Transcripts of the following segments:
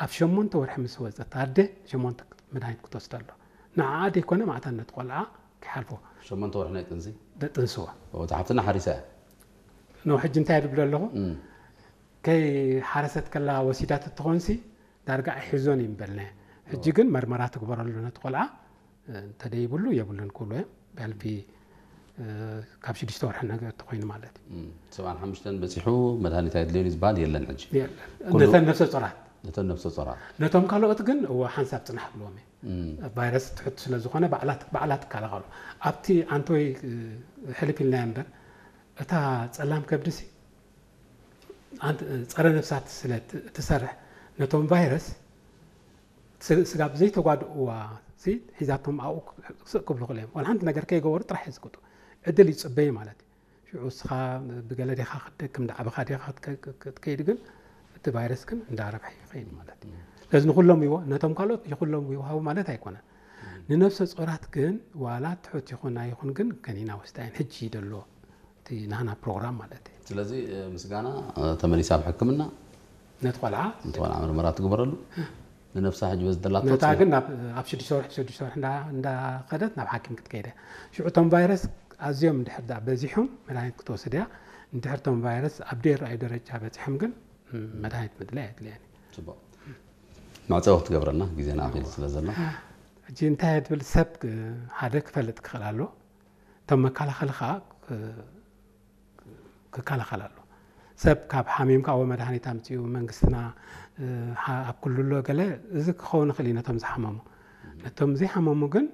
ኣብ ሸሞንተ ወርሒ ምስ ወፀት ኣደ ሸሞንተ መድሃኒት ክትወስድ ኣሎ። ንዓኣ ደይኮነ ማዕታነት ቆልዓ ክሓልፎ። ሸሞንተ ወርሒ ናይ ጥንሲ? ደጥንስዎ። እቲ ሓፍትና ሓሪሳ እያ። ኖ ሕጂ እንታይ ድብሎ ኣለኹ? ከይ ሓረሰት ከላ ወሲዳት እትኾንሲ ዳርጋ ኣይሕዞን እዩ ምበልናዮ። ሕጂ ግን መርመራ ትግበረሉ ነቲ ቆልዓ፣ እንተደይብሉ የብሉን ክብሉ እዮም። ብሕልፊ ካብ ሽዱሽተ ወርሒ ነገር ተኮይኑ ማለት እዩ። ሰብዓን ሓሙሽተን በፂሑ መድሃኒት ኣይድልዮን እዩ ዝበሃል የለን ሕጂ። ነተን ነፍሰ ጾራት ነተን ነፍሰ ጾራት ነቶም ካልኦት ግን እዎ ሓንሳብ ጽናሕ ብልዎም እየ። ቫይረስ ትሕት ስለ ዝኾነ ባዕላ ትከላኸሉ። ኣብቲ ኣንቶይ ሕልፍ ኢልናዮ እምበር እታ ጸላም ከብድሲ ጸረ ነፍሳት ስለ ትሰርሕ ነቶም ቫይረስ ስጋብ ዘይተጓድእዋ ሒዛቶም ኣብኡ ስቕ ክብሉ ክእል እዮም። ዋላ ሓንቲ ነገር ከይገበሩ ጥራሕ የዝግጡ ዕድል ይፅበዩ ማለት እዩ። ሽዑ እስኻ ብገለ ዲኻ ክትደክም ዳዕብኻ ዲኻ ክትከይድ ግን እቲ ቫይረስ ግን እንዳረብሐ ይኸይድ ማለት እዩ። ስለዚ ንኩሎም ይዎ ነቶም ካልኦት ይኩሎም ይውሃቡ ማለት ኣይኮነን። ንነፍሰ ጾራት ግን ዋላ ትሑት ይኹን ኣይኹን ግን ከኒና ወስዳየን ሕጂ ይደሎ እቲ ናህና ፕሮግራም ማለት እዩ። ስለዚ ምስጋና ተመሊሳ ኣብ ሕክምና ነቲ ቆልዓ ነቲ ቆልዓ ምርመራ ትግበረሉ ንነብሳ ሕጂ በዚ ደላቶ ነታ ግን ኣብ ሽዱሽተ ወርሒ ሽዱሽተ ወርሒ እንዳኸደት ናብ ሓኪም ክትከይደ ሽዑ እቶም ቫይረስ ኣዝዮም እንድሕር ዳ በዚሖም መድሃኒት ክትወስድ እያ። እንድሕር እቶም ቫይረስ ኣብ ደይረኣዩ ደረጃ በፂሖም ግን መድሃኒት ምድላይ ኣድልያን እዩ። ፅቡቅ መዕፀዊ ክትገብረልና ግዜና ኣኺሉ ስለ ዘሎ ሕጂ እንታይ ትብል ሰብ ሓደ ክፈልጥ ክኽእል ኣሎ። እቶም መከላኸሊ ከዓ ክከላኸል ኣሎ። ሰብ ካብ ሓሚምካ ወ መድሃኒት ኣምፅኡ መንግስትና ኣብ ኩሉ ኣሎ ገለ እዚ ክኸውን ይኽእል እዩ ነቶም ዝሓመሙ። ነቶም ዘይሓመሙ ግን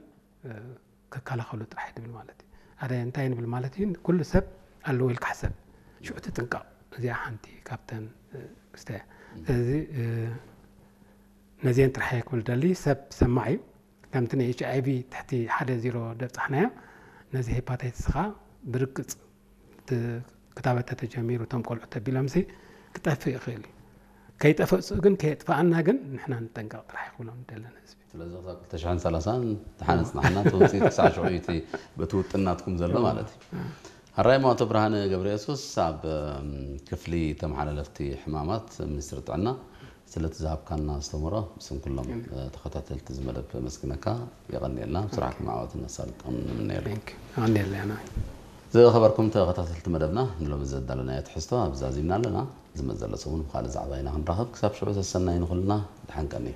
ክከላኸሉ ጥራሕ ድብል ማለት እዩ። ኣደ እንታይ ንብል ማለት እዩ ኩሉ ሰብ ኣለዎ ኢልካ ሕሰብ። ሽዑ ትጥንቀቕ። እዚኣ ሓንቲ ካብተን ክስተ ስለዚ ነዚአን ጥራሕ ክብል ደሊ ሰብ ሰማዕ እዩ። ከምቲ ናይ ኤች ኣይ ቪ ትሕቲ ሓደ ዜሮ ደብፃሕናዮ ነዚ ሄፓታይትስ ኸዓ ብርግፅ ክታበት ተተጀሚሩ እቶም ቆልዑ ተቢሎምሲ ክጠፍእ ይኽእል እዩ። ከይጠፈእ ግን ከየጥፈኣና ግን ንሕና ንጠንቀቕ ጥራሕ ይኽብሎም ደለን ህዝቢ። ስለዚ ክሳብ ክልተ ሽሕን ሰላሳን ተሓነፅናሕና እቲ ውፅኢት ክሳዕ ሽዑ እቲ በቲ ውጥን ናትኩም ዘሎ ማለት እዩ። ሕራይ ሞ ኣቶ ብርሃነ ገብረየሱስ ኣብ ክፍሊ ተመሓላለፍቲ ሕማማት ሚኒስትሪ ጥዕና ስለቲ ዝሃብካና ኣስተምህሮ ብስም ኩሎም ተኸታተልቲ እዚ መደብ ነመስግነካ። የቐንየልና። ስራሕኩም ዓወትን ኣሳልጦን ንምነየሉ። ኣቐንየልና ኢና። ዝኸበርኩም ተኸታተልቲ መደብና ንሎሚ ዘዳለናዮ ትሕዝቶ ኣብዚ ዛዚምና ኣለና። ዝመጽእ ዘሎ ሰሙን ብኻልእ ዛዕባ ኢና ክንራኸብ። ክሳብ ሽዑ ሰሰናዩ ንኹልና። ደሓን ቀንዩ።